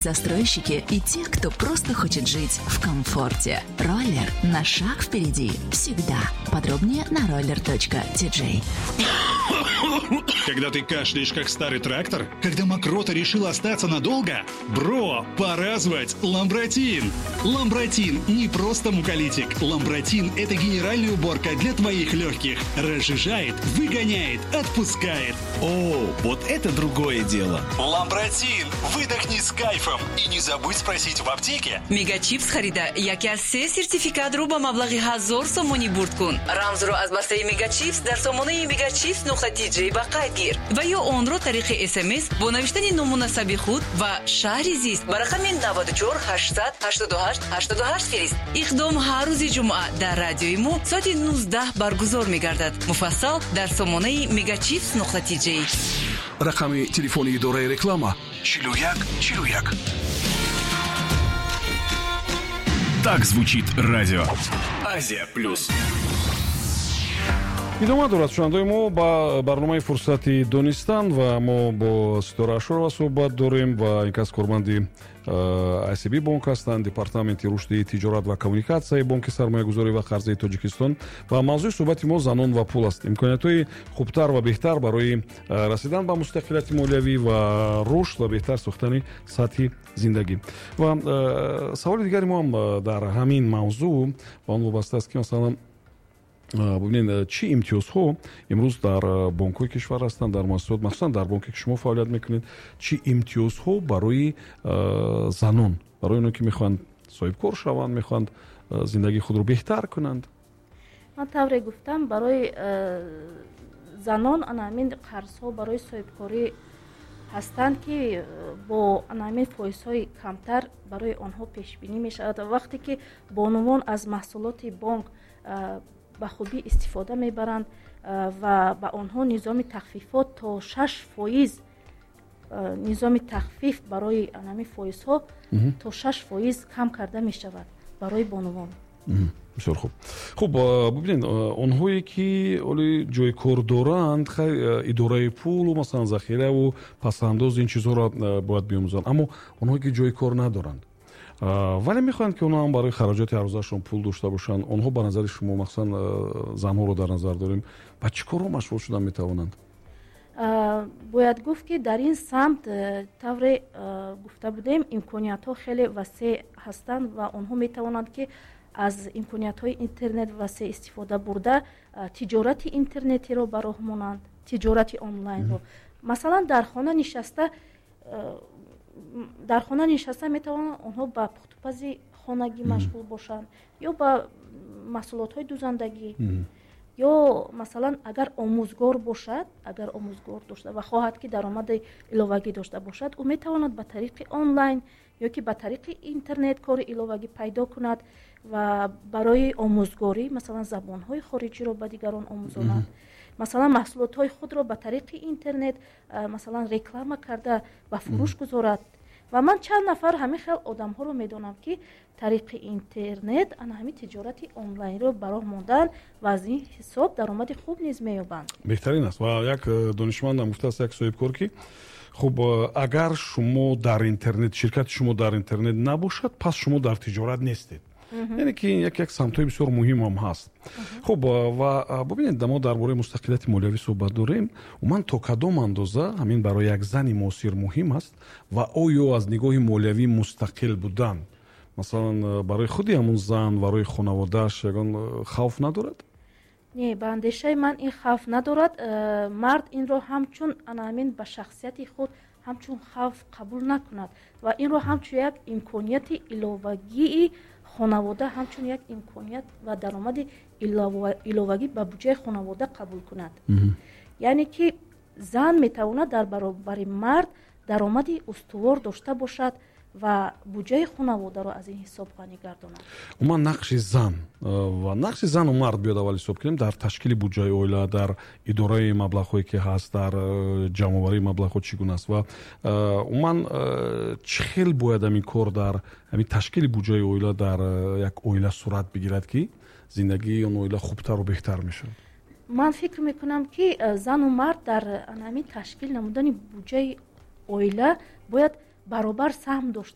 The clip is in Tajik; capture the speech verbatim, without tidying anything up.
Застройщики и тех, кто просто хочет жить в комфорте. Роллер на шаг впереди всегда. Подробнее на roller точка ти джей. Когда ты кашляешь, как старый трактор? Когда мокрота решила остаться надолго? Бро, пора звать Ламбратин! Ламбратин не просто муколитик. Ламбратин – это генеральная уборка для твоих легких. Разжижает, выгоняет, отпускает. О, вот это другое дело! Ламбратин! Выдохни с кайфом! И не забудь спросить в аптеке. Мегачипс харида яке аз се сертификат рӯ ба маблағи ҳазор сомонӣ бурд кун. Рамзро аз бастаи Мегачипс дар сомонаи мегачипс нуқта ти джей ба қайд гир ва ё онро тариқи СМС бо навиштани ному насаби худ ва шаҳри зист ба рақами наваду чор ҳаштсад ҳаштоду ҳашт ҳаштоду ҳашт фирист. Иқдом ҳар рӯзи ҷумъа дар радиои мо соати нуздаҳ баргузор мегардад. Муфассал дар сомонаи мегачипс нуқта ти джей. Рақами телефони идораи реклама чилу як чилу як. Так звучит радио Азия Плюс. Идома дорад шунавандаои мо ба барномаи Фурсати донистан ва мо бо Ситора Ашурова суҳбат дорем ва ин кас корманди ай си би бонк ҳастанд, департаменти рушди тиҷорат ва коммуникатсияи бонки сармоягузорӣ ва қарзии Тоҷикистон. Ва мавзӯи суҳбати мо занон ва пул аст. Имкониятҳои хубтар ва беҳтар барои расидан ба мустақилияти молиявӣ ва рушд ва беҳтар сохтани сатҳи зиндагӣ. Ва саволи дигари мо ҳам дар ҳамин мавзӯъ ба он вобаста аст, ки масалан бубинед, чӣ имтиёзҳо имрӯз дар бонкҳои кишвар ҳастанд, дар муассисот, махсусан дар бонке ки шумо фаъолият мекунед, чӣ имтиёзҳо барои занон, барои оно ки мехоҳанд соҳибкор шаванд, мехоҳанд зиндагии худро беҳтар кунанд? Ман тавре гуфтам, барои занон ана ҳамин қарзҳо барои соҳибкорӣ ҳастанд, ки бо ана ҳамин фоизҳои камтар барои онҳо пешбинӣ мешавад. Вақте ки бонувон аз маҳсулоти бонк ба хубӣ истифода мебаранд ва ба онҳо низоми тахфифот то шаш фоиз, низоми тахфиф барои ҳамин фоизҳо то шаш фоиз кам карда мешавад барои бонувон. Бисёр хуб. Хуб, бубинед, онҳое ки оли ҷои кор доранд, хай идораи пулу масалан захираву пасандоз, ин чизҳоро бояд биомӯзанд. Аммо онҳое ки ҷои кор надоранд, вале мехоҳанд ки онҳо ҳам барои хароҷоти ҳаррӯзашон пул дошта бошанд, онҳо ба назари шумо, махсусан занҳоро дар назар дорем, ба чӣ корҳо машғул шудан метавонанд? Бояд гуфт, ки дар ин самт тавре гуфта будем, имкониятҳо хеле васеъ ҳастанд ва онҳо метавонанд, ки аз имкониятҳои интернет васеъ истифода бурда тиҷорати интернетиро ба роҳ монанд, тиҷорати онлайнро. Масалан, дар хона нишаста дар хона нишаста метавонанд онҳо ба пухтупази хонагӣ машғул бошанд ё ба маҳсулотҳои дузандагӣ, ё масалан агар омӯзгор бошад, агар омӯзгор дошта ва хоҳад ки даромади иловагӣ дошта бошад, ӯ метавонад ба тариқи онлайн ё ки ба тариқи интернет кори иловагӣ пайдо кунад ва барои омӯзгорӣ масалан забонҳои хориҷиро ба дигарон омӯзонад, масалан маҳсулотҳои худро ба тариқи интернет масалан реклама карда ба фурӯш гузорад. Ва ман чанд нафар ҳамин хел одамҳоро медонам, ки тариқи интернет ана ҳамин тиҷорати онлайнро ба роҳ монданд ва аз ин ҳисоб даромади хуб низ меёбанд. Беҳтарин аст. Ва як донишмандам гуфтааст, як соҳибкор, ки хуб, агар шумо дар интернет, ширкати шумо дар интернет набошад, пас шумо дар тиҷорат нестед. Яъне ки як як самтҳои бисёр муҳим ҳам ҳаст. Хуб, ва бубинед, мо дар бораи мустақилияти молиявӣ суҳбат дорем. Умуман то кадом андоза ҳамин барои як зани муосир муҳим аст ва оё аз нигоҳи молиявӣ мустақил будан масалан барои худи ҳамун зан, барои хонаводааш ягон хавф надорад? Не, ба андешаи ман ин хавф надорад. Мард инро ҳамчун ана ҳамин ба шахсияти худ ҳамчун хавф қабул накунад ва инро ҳамчун як имконияти иловагии хонавода, ҳамчун як имконият ва даромади иловагӣ ба буҷаи хонавода қабул кунад. Яъне ки зан метавонад дар баробари мард даромади устувор дошта бошад ва буҷаи хонаводаро аз ин ҳисоб ғанӣ гардонад. Умуман нақши зан ва нақши зану мард биёд аввал ҳисоб кунем дар ташкили буҷаи оила, дар идораи маблағҳое ки ҳаст, дар ҷамъоварии маблағҳо чӣ гуна аст ва умуман чӣ хел бояд ҳамин кор дар ҳамин ташкили буҷаи оила дар як оила сурат бигирад, ки зиндагии он оила хубтару беҳтар мешавад? Ман фикр мекунам, ки зану мард дар ҳамин ташкил намудани буҷаи оила бояд Баробар саҳм дошта.